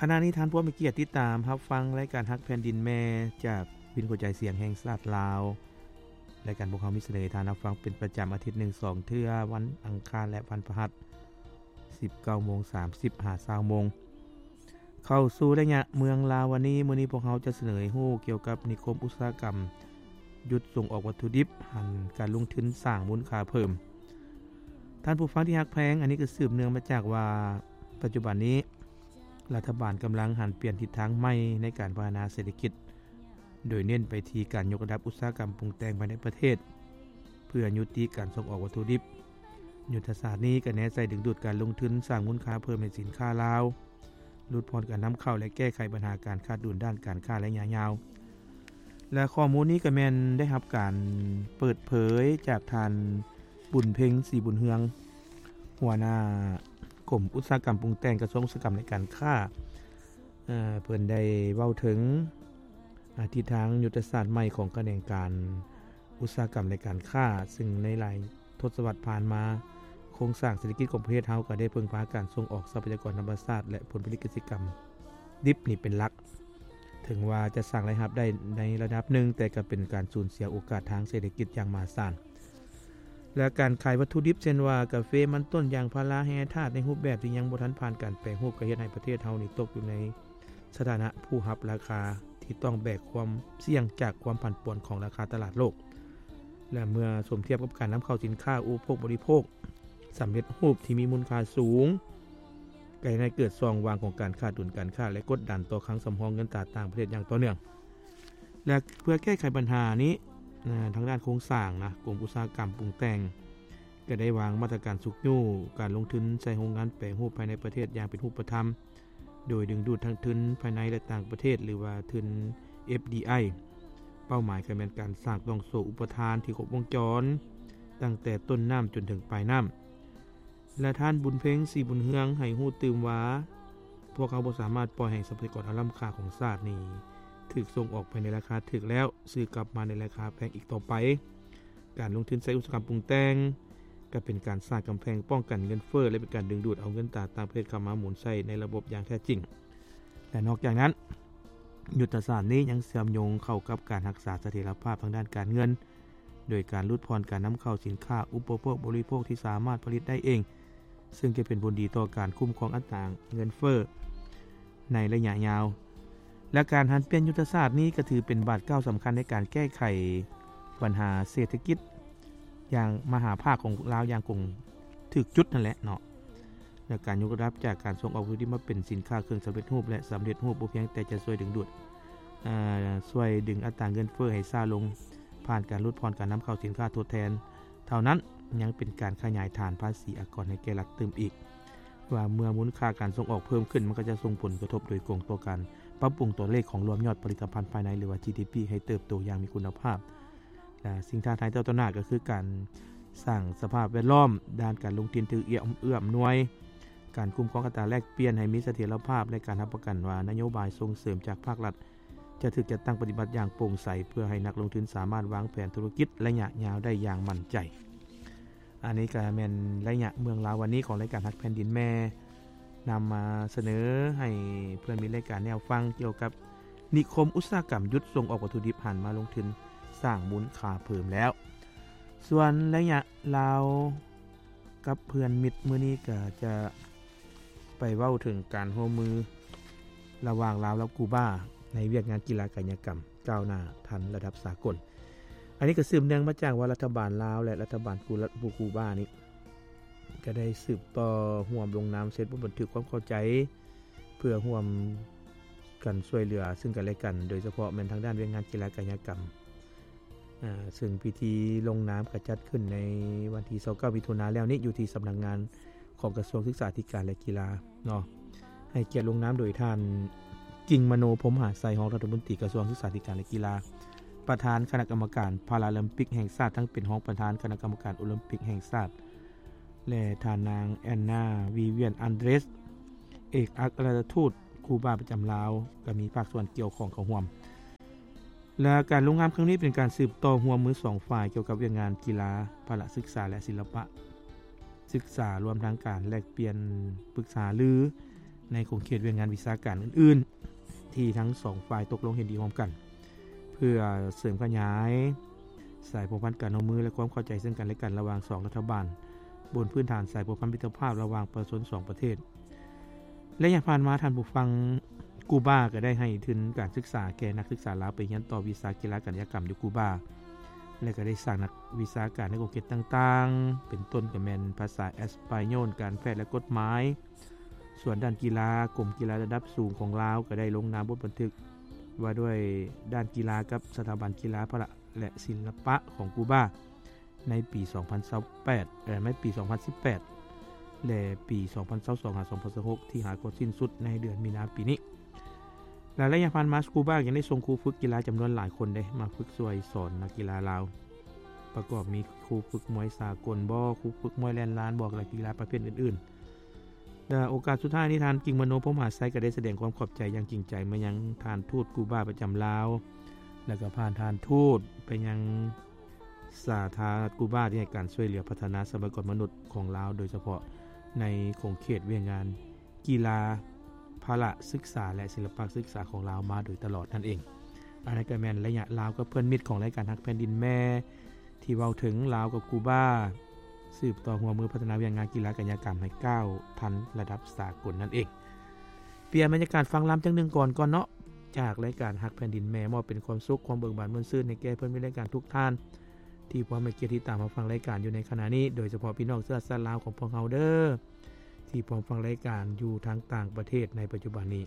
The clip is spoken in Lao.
ຂະນະນີ້ທ່ານຜູ້ມີກຽດຕິດຕາມຮັບຟັງລາຍການຮັກແຜ່ນດິນແມ່ ຈາກວິນຫົວໃຈສຽງແຫ່ງຊາດລາວ. ລາຍການພວກເຮົາມີສະເໜີໃຫ້ທ່ານຮັບຟັງເປັນປະຈຳອາທິດໜຶ່ງສອງເທື່ອ, ວັນອັງຄານ ແລະ ວັນພະຫັດ, ສິບເກົ້າໂມງສາມສິບຫາຊາວໂມງ. ເຂົ້າສູ່ໄລຍະເມືອງລາວວັນນີ້, ມື້ນີ້ພວກເຮົາຈະສະເໜີໃຫ້ຮູ້ກ່ຽວກັບນິຄົມອຸດສາຫະກຳຢຸດສົ່ງອອກວັດຖຸດິບ, ຫັນການລົງທຶນສ້າງມູນຄ່າເພີ່ມ. ທ່ານຜູ້ຟັງທີ່ຮັກແພງ, ອັນນີ້ກໍສືບເນື່ອງມາຈາກວ່າ ປັດຈຸບັນນີ້ ລັດຖະບານກຳລັງຫັນປ່ຽນທິດທາງໃໝ່ໃນການພັດທະນາເສດຖະກິດ, ໂດຍເນັ້ນໄປທີ່ການຍົກລະດັບອຸດສາຫະກຳປຸງແຕ່ງພາຍໃນປະເທດ ເພື່ອຍຸຕິການສົ່ງອອກວັດຖຸດິບ. ຍຸດທະສາດນີ້ກໍແນໃສ່ດຶງດູດການລົງທຶນສ້າງມູນຄ່າເພີ່ມໃຫ້ສິນຄ້າລາວ, ຫຼຸດຜ່ອນການນຳເຂົ້າ ແລະ ແກ້ໄຂບັນຫາການຂາດດຸນດ້ານການຄ້າໄລຍະຍາວ. ແລະ ຂໍ້ມູນນີ້ກໍແມ່ນໄດ້ຮັບການເປີດເຜີຍຈາກທ່ານ ບຸນເພັງ ສີບຸນເຮືອງ, ຫົວໜ້າກົມອຸດສາຫະກຳປຸງແຕ່ງ ກະຊວງອຸດສາຫະກຳ ແລະ ການຄ້າ. ເອີ່ ເພິ່ນໄດ້ເວົ້າເຖິງ ອາ ທິດທາງຍຸດທະສາດໃໝ່ຂອງຂະແໜງການອຸດສາຫະກຳ ແລະ ການຄ້າ, ຊຶ່ງໃນຫຼາຍທົດສະວັດຜ່ານມາ, ໂຄງສ້າງເສດຖະກິດຂອງປະເທດເຮົາກໍໄດ້ເພິ່ງພາການສົ່ງອອກຊັບພະຍາກອນທຳມະຊາດ ແລະ ຜົນຜະລິດກະສິກຳດິບນີ້ເປັນຫຼັກ. ເຖິງວ່າຈະສ້າງລາຍຮັບໄດ້ໃນລະດັບໜຶ່ງ, ແຕ່ກໍເປັນການສູນເສຍໂອກາດທາງເສດຖະກິດຢ່າງມະຫາສານ. ແລະ ການຂາຍວັດຖຸດິບ ເຊັ່ນວ່າ ກາເຟ, ມັນຕົ້ນ, ຢາງພາລາ, ແຮ່ທາດ ໃນຮູບແບບທີ່ຍັງບໍ່ທັນຜ່ານການແປຮູບ, ກໍເຮັດໃຫ້ປະເທດເຮົານີ້ຕົກຢູ່ໃນສະຖານະຜູ້ຮັບລາຄາທີ່ຕ້ອງແບກຄວາມສ່ຽງຈາກຄວາມຜັນປວນຂອງລາຄາຕະຫຼາດໂລກ. ແລະ ເມື່ອສົມທຽບກັບການນຳເຂົ້າສິນຄ້າອຸປະໂພກບໍລິໂພກສຳເລັດຮູບທີ່ມີມູນຄ່າສູງ, ກໍເຮັດໃຫ້ເກີດຊ່ອງວ່າງຂອງການຂາດດຸນການຄ້າ ແລະ ກົດດັນຕໍ່ຄັງສຳຮອງເງິນຕາຕ່າງປະເທດຢ່າງຕໍ່ເນື່ອງ. ແລະ ເພື່ອແກ້ໄຂບັນຫານີ້, ທາງດ້ານໂຄງສ້າງນະ, ກົມອຸດສາຫະກຳປຸງແຕ່ງ ກໍໄດ້ວາງມາດຕະການຊຸກຍູ້ການລົງທຶນໃສ່ໂຮງງານແປຮູບພາຍໃນປະເທດຢ່າງເປັນຮູບປະທຳ, ໂດຍດຶງດູດທັງທຶນພາຍໃນ ແລະ ຕ່າງປະເທດ ຫຼືວ່າທຶນ ເອັຟດີໄອ. ເປົ້າໝາຍກໍແມ່ນການສ້າງຕ່ອງໂສ້ອຸປະທານທີ່ຄົບວົງຈອນ, ຕັ້ງແຕ່ຕົ້ນນ້ຳຈົນເຖິງປາຍນ້ຳ. ແລະ ທ່ານ ບຸນເພັງ ສີບຸນເຮືອງ ໃຫ້ຮູ້ຕື່ມວ່າ, ພວກເຮົາບໍ່ສາມາດປ່ອຍໃຫ້ຊັບພະຍາກອນອັນລ້ຳຄ່າຂອງຊາດນີ້ ຖືກສົ່ງອອກໄປໃນລາຄາຖືກແລ້ວ ຊື້ກັບມາໃນລາຄາແພງອີກຕໍ່ໄປ. ການລົງທຶນໃສ່ອຸດສາຫະກຳປຸງແຕ່ງ ກໍເປັນການສ້າງກຳແພງປ້ອງກັນເງິນເຟີ້ ແລະ ເປັນການດຶງດູດເອົາເງິນຕາຕ່າງປະເທດເຂົ້າມາໝູນໃຊ້ໃນລະບົບຢ່າງແທ້ຈິງ. ແລະ ນອກຈາກນັ້ນ, ຍຸດທະສາດນີ້ຍັງເຊື່ອມໂຍງເຂົ້າກັບການຮັກສາສະຖຽນລະພາບທາງດ້ານການເງິນ, ໂດຍການຫຼຸດຜ່ອນການນຳເຂົ້າສິນຄ້າອຸປະໂພກບໍລິໂພກທີ່ສາມາດຜະລິດໄດ້ເອງ, ເຊິ່ງຈະເປັນຜົນດີຕໍ່ການຄຸ້ມຄອງອັດຕາເງິນເຟີ້ໃນໄລຍະຍາວ. ແລະ ການຫັນປ່ຽນຍຸດທະສາດນີ້ກໍຖືເປັນບາດກ້າວສຳຄັນໃນການແກ້ໄຂບັນຫາເສດຖະກິດຢ່າງມະຫາພາກຂອງລາວຢ່າງກົງ ຖືກຈຸດນັ້ນແຫຼະເນາະ. ແລະ ການຍົກລະດັບຈາກການສົ່ງອອກວັດຖຸດິບມາເປັນສິນຄ້າເຄື່ອງສຳເລັດຮູບ ແລະ ສຳເລັດຮູບ ບໍ່ພຽງແຕ່ຈະຊ່ວຍດຶງດູດ, ເອີ່, ຊ່ວຍດຶງອັດຕາເງິນເຟີ້ໃຫ້ຊ້າລົງ ຜ່ານການຫຼຸດຜ່ອນການນຳເຂົ້າສິນຄ້າທົດແທນເທົ່ານັ້ນ, ຍັງເປັນການຂະຫຍາຍຖານພາສີອາກອນໃຫ້ແກ່ລັດຕື່ມອີກ, ວ່າເມື່ອມູນຄ່າການສົ່ງອອກເພີ່ມຂຶ້ນ, ມັນກໍຈະສົ່ງຜົນກະທົບໂດຍກົງຕໍ່ການປັບປຸງຕົວເລກຂອງລວມຍອດຜະລິດຕະພັນພາຍໃນ ຫຼືວ່າ ຈີດີພີ ໃຫ້ເຕີບໂຕຢ່າງມີຄຸນນະພາບ. ແລະ ສິ່ງທ້າທາຍຕໍ່ໜ້າກໍຄືການສ້າງສະພາບແວດລ້ອມດ້ານການລົງທຶນທີ່ເອື້ອອຳນວຍ, ການຄຸ້ມຄອງອັດຕາແລກປ່ຽນໃຫ້ມີສະຖຽນລະພາບ ແລະ ການຮັບປະກັນວ່ານະໂຍບາຍສົ່ງເສີມຈາກພາກລັດຈະຖືກຈັດຕັ້ງປະຕິບັດຢ່າງໂປ່ງໃສ ເພື່ອໃຫ້ນັກລົງທຶນສາມາດວາງແຜນທຸລະກິດໄລຍະຍາວໄດ້ຢ່າງໝັ້ນໃຈ. ອັນນີ້ກໍແມ່ນໄລຍະເມືອງລາວວັນນີ້ຂອງລາຍການຮັກແຜ່ນດິນແມ່ ນຳມາສະເໜີໃຫ້ເພື່ອນມິດລາຍການແນວຟັງກ່ຽວກັບ ນິຄົມອຸດສາຫະກຳຢຸດສົ່ງອອກວັດຖຸດິບ ຫັນມາລົງທຶນສ້າງມູນຄ່າເພີ່ມແລ້ວ. ສ່ວນໄລຍະລາວກັບເພື່ອນມິດມື້ນີ້ກໍຈະໄປເວົ້າເຖິງການຮ່ວມມືລະຫວ່າງລາວກັບກູບາໃນວຽກງານກິລາກາຍະກຳກ້າວໜ້າທັນລະດັບສາກົນ. ອັນນີ້ກໍສືບເນື່ອງມາຈາກວ່າລັດຖະບານລາວ ແລະ ລັດຖະບານກູ ກູບານີ້ ກໍໄດ້ສືບຕໍ່ຮ່ວມລົງນາມເຊັນບົດບັນທຶກຄວາມເຂົ້າໃຈ ເພື່ອຮ່ວມກັນຊ່ວຍເຫຼືອຊຶ່ງກັນແລະກັນ, ໂດຍສະເພາະແມ່ນທາງດ້ານວຽກງານກິລາກາຍະກຳ, ອາ, ຊຶ່ງພິທີລົງນາມກໍຈັດຂຶ້ນໃນວັນທີຊາວເກົ້າ ມິຖຸນາແລ້ວນີ້ ຢູ່ທີ່ສຳນັກງານຂອງກະຊວງສຶກສາທິການ ແລະ ກິລາເນາະ, ໃຫ້ກຽດລົງນາມໂດຍທ່ານ ກິ່ງມະໂນ ພົມມະຫາໄຊ ຮອງລັດຖະມົນຕີກະຊວງສຶກສາທິການ ແລະ ກິລາ, ປະທານຄະນະກຳມະການພາລາລິມປິກແຫ່ງຊາດ, ທັງເປັນຮອງປະທານຄະນະກຳມະການໂອລິມປິກແຫ່ງຊາດ ແລະ ທ່ານນາງ ແອນນາ ວິວຽນ ອັນເດຣສ ເອກອັກຄະລັດຖະທູດຄູບາປະຈຳລາວ ກໍມີພາກສ່ວນກ່ຽວຂ້ອງເຂົ້າຮ່ວມ. ແລະ ການລົງນາມຄັ້ງນີ້ເປັນການສືບຕໍ່ຮ່ວມມືສອງຝ່າຍກ່ຽວກັບວຽກງານກິລາ, ພະລະສຶກສາ ແລະ ສິລະປະສຶກສາ, ລວມທັງການແລກປ່ຽນປຶກສາຫາລື ໃນຂົງເຂດວຽກງານວິຊາການອື່ນໆ ທີ່ທັງສອງຝ່າຍຕົກລົງເຫັນດີຮ່ວມກັນ ເພື່ອເສີມຂະຫຍາຍສາຍພົວພັນການຮ່ວມມື ແລະ ຄວາມເຂົ້າໃຈເຊິ່ງກັນແລະກັນລະຫວ່າງສອງລັດຖະບານ ບົນພື້ນຖານສາຍພົວພັນມິດຕະພາບລະຫວ່າງປະຊາຊົນສອງປະເທດ. ໄລຍະຜ່ານມາ ທ່ານຜູ້ຟັງ, ກູບາກໍໄດ້ໃຫ້ທຶນການສຶກສາແກ່ນັກສຶກສາລາວໄປຮຽນຕໍ່ວິຊາກິລາກະສິຍະກຳຢູ່ກູບາ ແລະ ກໍໄດ້ສ້າງນັກວິຊາການໃນຂົງເຂດຕ່າງໆ ເປັນຕົ້ນກໍແມ່ນພາສາເອສປາໂຍນ, ການແພດ ແລະ ກົດໝາຍ. ສ່ວນດ້ານກິລາ, ກົມກິລາລະດັບສູງຂອງລາວກໍໄດ້ລົງນາມບົດບັນທຶກວ່າດ້ວຍດ້ານກິລາກັບສະຖາບັນກິລາພະລະ ແລະ ສິລະປະຂອງກູບາ ໃນປີສອງພັນຊາວແປດ ເອີ ໃນປີສອງພັນສິບແປດ ແລະ ປີສອງພັນຊາວສອງ ຫາ ສອງພັນຊາວຫົກ ທີ່ຫາກໍສິ້ນສຸດໃນເດືອນມີນາປີນີ້. ແລະ ໄລຍະຜ່ານມາ ສະກູບາຍັງໄດ້ສົ່ງຄູຝຶກກິລາຈຳນວນຫຼາຍຄົນເດ້ ມາຝຶກຊ່ວຍສອນນັກກິລາລາວ ປະກອບມີຄູຝຶກມວຍສາກົນບໍ, ຄູຝຶກມວຍແລ່ນລານບໍ ແລະ ກິລາປະເພດອື່ນໆ. ແລະ ໂອກາດສຸດທ້າຍນີ້ ທ່ານ ກິງມະໂນ ພົມມະຫາໄຊ ກໍໄດ້ສະແດງຄວາມຂອບໃຈຢ່າງຈິງໃຈມາຍັງທ່ານທູດກູບາປະຈຳລາວ ແລະ ກໍຜ່ານທ່ານທູດໄປຍັງສາທາລະນະລັດກູບາ ທີ່ໃຫ້ການຊ່ວຍເຫຼືອພັດທະນາຊັບພະຍາກອນມະນຸດຂອງລາວ ໂດຍສະເພາະໃນຂົງເຂດວຽກງານກິລາພະລະສຶກສາ ແລະ ສິລະປະສຶກສາຂອງລາວມາໂດຍຕະຫຼອດນັ້ນເອງ. ອັນນັ້ນກໍແມ່ນໄລຍະລາວກັບເພື່ອນມິດຂອງລາຍການຮັກແຜ່ນດິນແມ່ ທີ່ເວົ້າເຖິງລາວກັບກູບາ ສືບຕໍ່ຮ່ວມມືພັດທະນາວຽກງານກິລາກະສິຍະກຳໃຫ້ກ້າວທັນລະດັບສາກົນນັ້ນເອງ. ປ່ຽນບັນຍາກາດຟັງລຳຈັກໜຶ່ງກ່ອນກ່ອນເນາະ ຈາກລາຍການຮັກແຜ່ນດິນແມ່ ມອບເປັນຄວາມສຸກຄວາມເບີກບານມ່ວນຊື່ນໃຫ້ແກ່ເພື່ອນມິດລາຍການທຸກທ່ານ ທີ່ພວມໃຫ້ກຽດຕິດຕາມຮັບຟັງລາຍການຢູ່ໃນຂະນະນີ້ ໂດຍສະເພາະພີ່ນ້ອງເຊື້ອຊາດລາວຂອງພວກເຮົາເດີ ທີ່ພວມຟັງລາຍການຢູ່ທາງຕ່າງປະເທດໃນປັດຈຸບັນນີ້.